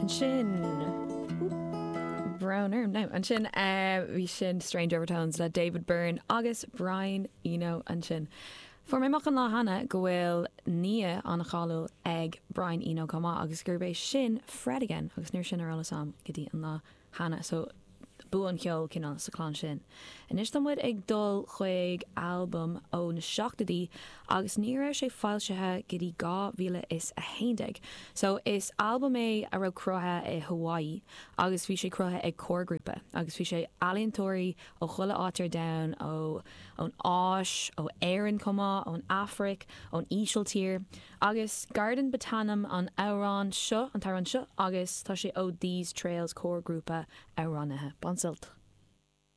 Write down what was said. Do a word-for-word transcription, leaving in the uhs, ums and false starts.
Ansin Brown orm now. Ansin uh, bhí sin Strange Overtones le David Byrne agus Brian Eno ansin. Fuair mé amach an lá cheana go bhfuil nia an-cháiliúil ag Brian Eno chomh maith agus gurb é sin Fred again agus níl sin ar eolas agam go dtí an lá cheana so bua an cheoil cineál sa chlann sin. Anois tá muid ag dul chuig albam ó na seachtóidí agus ní raibh sé foilsithe go dtí dhá mhíle is a haon déag. So is albam é a raibh cruthaithe i Hawaii agus bhí sé cruthaithe ag chórghrúpa agus bhí sé ealaíontóirí ó chuile áit ar domhan ó ón Áis, ó Éirinn chomh maith, ón Afraic, ón Ísiltír, agus Garden ba ainm an amhrán seo an t-amhrán seo agus tá sé ó These Trails chórghrúpa amhránaithe. Bain sult.